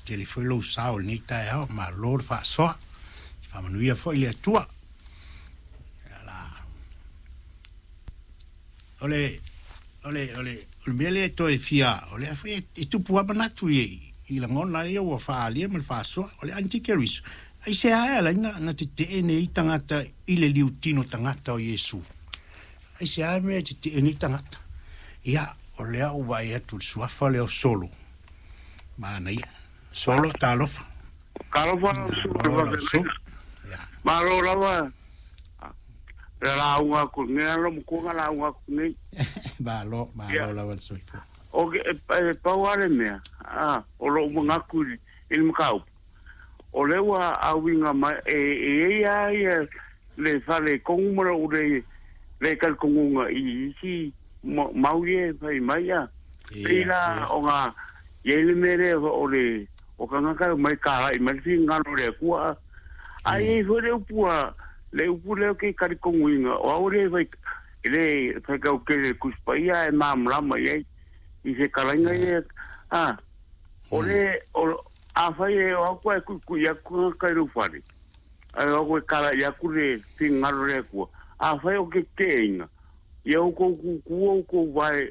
Tele foi lou sao i lenei taeao, malo le faasoa. Faamanuia foi le Atua. O le o le o le o le mea lea e toe fia o lea foi e tupu lava manatu i i lagona ia ua faaalia ma le faasoa. O le antikeriso, aisea e ala ai na tetee nei tagata i le liutino tagata o Iesu? Aisea e mea e tetee nei tagata? Ia, o lea ua vaai atu i le suafa lea o Solo. Manaia. Solo, talofa. Talofa lau susuga. Malo lava le lauga atu nei, alo matua na lauga atu nei. Malo, malo lava le soifua. O ke e pau lava le mea, a, o lou manatu i le mataupu, o lea ua auiga mai, e i ai lava ia le faaletonu ma lou le talitonuga i isi mau ia e fai mai, a. Pei la ona i ai le mea lea o le o tagata e omai kalai mai le finagalo o le Atua, a. Ae i ai foi le upu a le upu lea ou te talitonuina, o au e le fai e le faitau tele i le Tusi Paia ae malamalama i ai i fetalaiga ia, a. O le o afai e o atu ae tuitui atu tagata i lou fale, ae o atu e kalai atu le finagalo o le Atua, afai o te teteina, Ia outou tutu outou vae,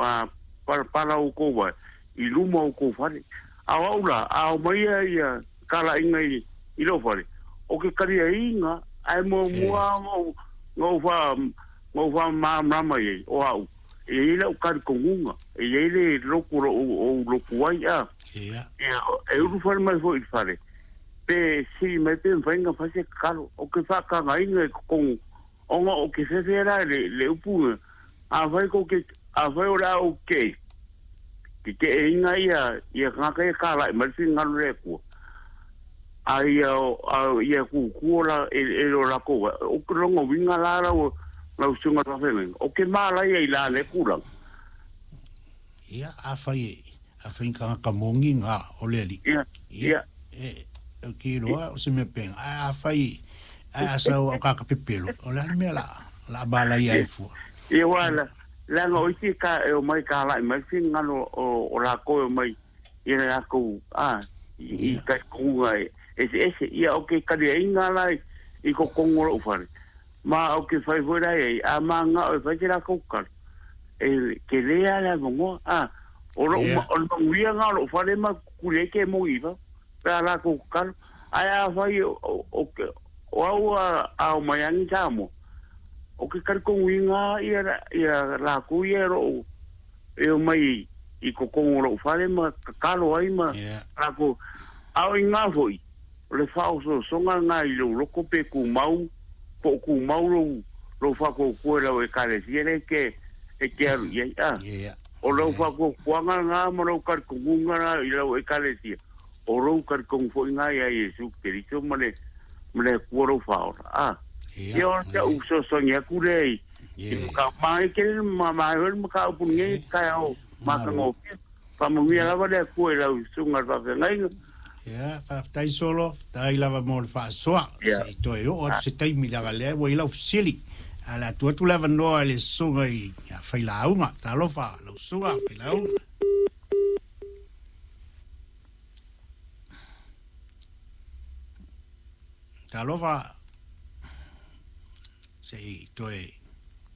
a palapala outou vae i luma o outou fale. A o au la, a aumaia ia talaiga i lou fale, o ke taliaiga, ae muamua ona ou faamalamalama i ai, o au, e i ai lau talitonuga, e i ai le lotu o lo o ou lotu ai, a. E ulufale mai foi i le fale, pe sili mai pe mafai ona fai se tatalo. Ou te faatagaina i totonu Ona o ke fefe la le le upu na, afai kou te, afai o le a ou tetee, teteeina ia, ia tagata ia kalaʻi mai le finagalo o le Atua, a ia, a ia kūkū o la, e, e lo lakou ai, o ke lona uiga la lau, lau susuga i le faafeagaiga, o ke mālaia i la lea tulaga. Ia, afai e, afai ni tagata moni na o le Alii, Ia, ia, ia. e, ou te iloa o se mea pēnā, ae afai, ae a sau au kāka pepelo, o le a le mea la, la malaia ai fua? Ia, aua la, leaga o isi ka, e omai kalaʻi mai le finagalo o, o lakou e omai i le lakou, a, i, i talitonuga e eseese. Ia, o ke taliaiga la i, i totonu o loʻu fale, ma o ke fai foi la i ai, a mananao e fai se lakou tatalo, e tele lava le avanoa, a, o lou, o le manuia lena o lou fale ma kuli ai ke moni i fafo, pe a latou tatalo. Ae afai o, o, o au a, a omai ane i Samoa, o ke talitonuina ia, ia latou ia e loo e omai i totonu o lou fale ma tatalo ai ma latou. A o i ina foi, o le faaosoosoga lena i lou loto pe tumau, po o tumau lou, lou faatuatua i lau Ekalesia lea e te, e te alu i ai, a. O lou faatuatuaga lena ma lou talitonuga lena i lau Ekalesia, o lou talitonu foi lena ia Iesu Keriso ma le, ma le Atua lou Faaola, a. Ia o si au fesoasoani atu lea i, i mataupu. Manaia tele, manaia foi le mataupu i lenei taeao matagofie. Faamanuia lava le Atua i lau susuga i le faafeagaiga. Ia, faafetai Solo, faafetai lava mo le faasoa. Se i toe oo atu se taimi leaga lea ua i lau fesili. Ae o le a tuu atu le avanoa i le susuga i a Failauga. Talofa lau susuga Failauga. Talofa se i toe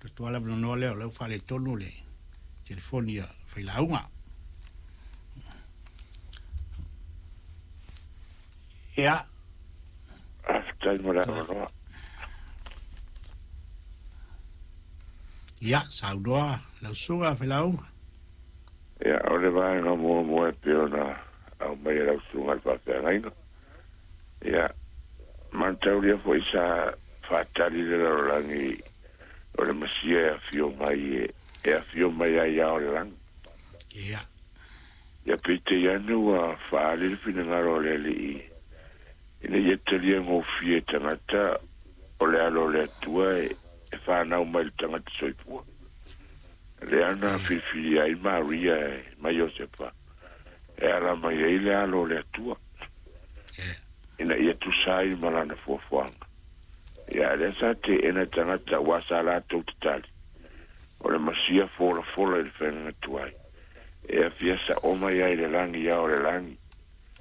tuu atu lava le avanoa lea o lea ua faaletonu le telefoni a Failauga. Ia. Faafetai mo le avanoa. Ia, saunoa lau susuga Failauga. Ia, o le vaega muamua e pei ona aumai e lau susuga i le faafeagaiga, ia, manataulia foi sa faatali le lalolagi o le Masia e afio mai e afio mai ai ao le lagi. Ia. Ia peitai ane ua faaali le finagalo o le Alii ina ia talia gofie e tagata o le alo o le Atua e fanau mai i le tagata soifua. Lea na filifilia ai Maria e ma Iosepa e ala mai ai le alo o le Atua, ina ia tusa ai ma lana fuafuaga. Ia, lea sa teena tagata aua sa latou tatali, o le Masia folafola i le faiga tuai, e afia sa'o mai ai le lagi ao le lagi.